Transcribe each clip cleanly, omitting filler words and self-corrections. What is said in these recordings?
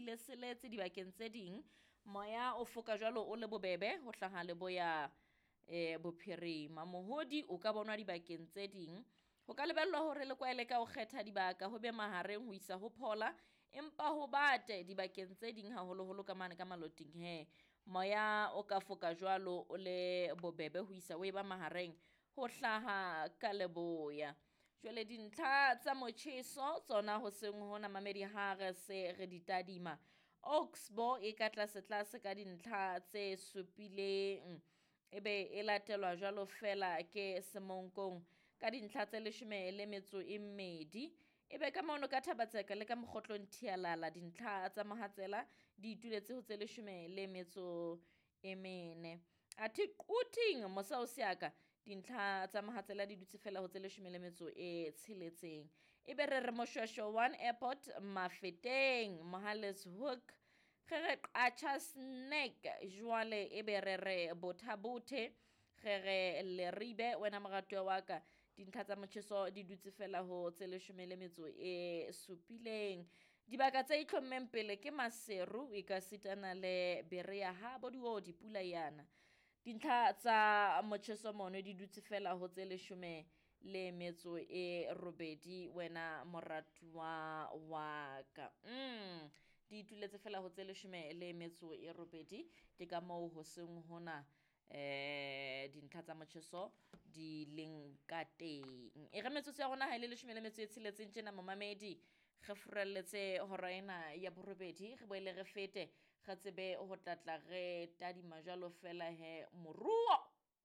le seletse dibakeng tse ding. Moya o foka jwalo o le bobebe ho hlaha leboya bophirima. Mohodi o ka bonwa dibakeng tse ding. Ho ka lebellwa hore le kwaele ka ho kgetha dibaka ho be mahareng ho isa ho phola, empa ho bate dibakeng tse ding haholoholo ka mane ka maloting he. Moya o ka foka jwalo o le bobebe ho isa o e ba mahareng ho hlaha ka leboya. Jwale dintlha tsa motjheso tsona hoseng hona mamedi ha re se re di tadima. Oxbow e ka tlase tlase ka dintlha tse supileng, ebe e latelwa jwalo fela ke Semonkong ka dintlha tse 12. Ebe ka mono ka Thabatseka le ka Mokgotlong Thialala dintlha tsa mohatsela di ituletse ho tse 14. Athe Quthing mosa o seaka dintlha tsa mohatsela di dutse fela ho tse 16. Ebe re re Moshweshwe 1 Airport Mafeteng Mohale's Hoek ge re Qacha's Nek jwale ebe re re Bothabothe ge re Leribe wena moratuwa wa ka dintlha tsa motjheso di dutse fela ho tse 17. Dibaka tse itlhommeng pele ke Maseru e ka sitana le Berea ha bo diodi pula yana. Dintlha tsa motjheso mono di dutse fela ho tse 18 wena moratuwa wa ka. Di ituletse fela ho tse 18. Ke ka moo hoseng hona dintlha tsa motjheso di leng ka teng. E re metsotso ya rona ha e le 16 tjena momamedi, re furalletse hora ena ya borobedi, re boele re fete re tsebe ho tlatla re tadima jwalo fela he moruo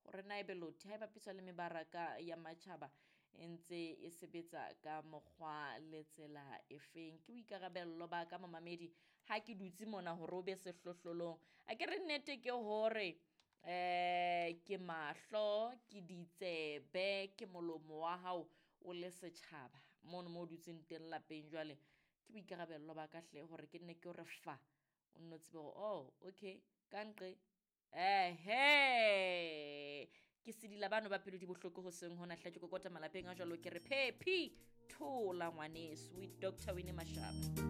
hore na ebe lotho ha e bapiswa le mebaraka ya matjhaba e ntse e sebetsa ka mokgwa le tsela efeng. Ke boikarabello ba ka momamedi ha ke dutse mona hore o be sehlohlolong. A ke re nnete ke hore ke mahlo, ke ditsebe, ke molomo wa hao o le setjhaba mono mo o dutseng teng lapeng. Jwale ke boikarabello ba ka hle hore ke nne ke hore fa o nno tsebe hore oh okay ka nqe ehe ke sedila bano ba pelo di bohloko hoseng hona hle ke kokota malapeng a jwalo ke re phephi thola ngwaneso with Dr. Winnie Mashaba.